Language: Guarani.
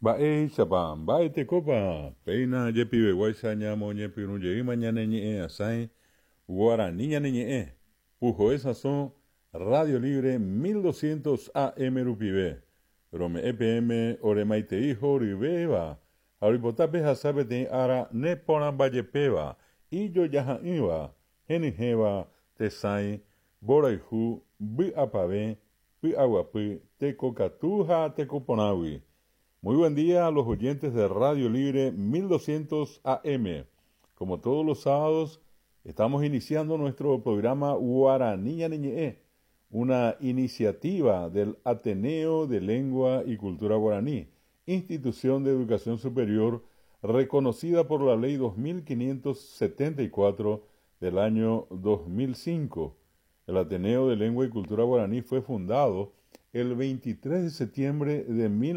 Mba'éichapa, mba'etekópa péina jepiveguáicha ñamoñepyrũjeýma ñane ñe'ẽ'asãi Guarani ñane ñe'ẽ, Puhoe Sãso, Radio Libre 1200 AM rupive. Rome'ẽ peẽme ore maitei horyvéva ha roipota pehasa peteĩ ára neporãmbajepéva, ijojaha'ỹva, henyhẽva, tesãi, mborayhu, vy'apavẽ, py'aguapy, tekokatu ha tekoporãgui. Muy buen día a los oyentes de Radio Libre 1200 AM. Como todos los sábados, estamos iniciando nuestro programa Guaraní Ñane Ñe'ẽ, una iniciativa del Ateneo de Lengua y Cultura Guaraní, institución de educación superior reconocida por la Ley 2574 del año 2005. El Ateneo de Lengua y Cultura Guaraní fue fundado el 23 de septiembre de 19.